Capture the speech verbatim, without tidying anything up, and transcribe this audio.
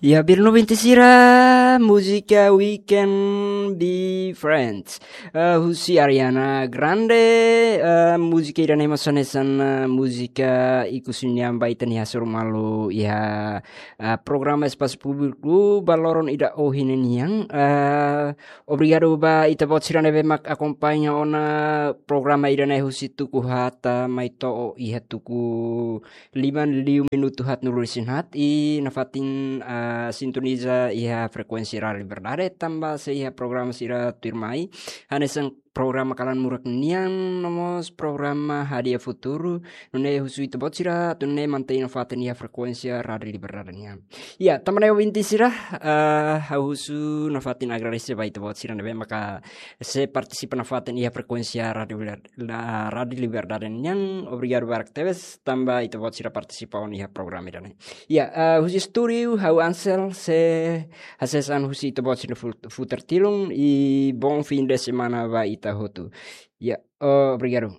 Ya, belun ouvinte sira, múzika We Can Be Friends. Eh, husi Ariana Grande, eh, múzika ida-ne'e mós hanesan, eh, múzika ikus nian ba ita-nia hasoru malu iha, eh, programa Espasu Públiku ba loron ida ohin nian. Eh, obrigadu ba ita-boot sira ne'ebé mak akompaña ona programa ida-ne'e husi tuku haat mai to'o iha tuku lima liu minutu haat nulu resin haat, i nafatin, ah, sintoniza iha frekuénsia Rádiu Liberdade, tanba sei iha programa sira tuirmai, hanesan programa Kalan Murak nian, no mós programa Hadi'a Futuru, nune'e husu ita-boot sira atu nune'e mantein nafatin iha frekuénsia Rádiu Liberdade nian. Ya, tanba ne'e ouvinte sira, ah, ha'u husu nafatin agradese ba ita-boot sira ne'ebé maka sei partisipa nafatin iha frekuénsia Rádiu Liber-, la-, Rádiu Liberdade nian. Obrigadu barak tebes, tanba ita-boot sira partisipa ona iha programa ida-ne'e. Ya, eh, husi estúdiu, ha'u Ansel, sei hasees an husi ita-boot sira fu-, futar tilun, i bom fim de semana ba ita hotu. Ya, eh, obrigadu.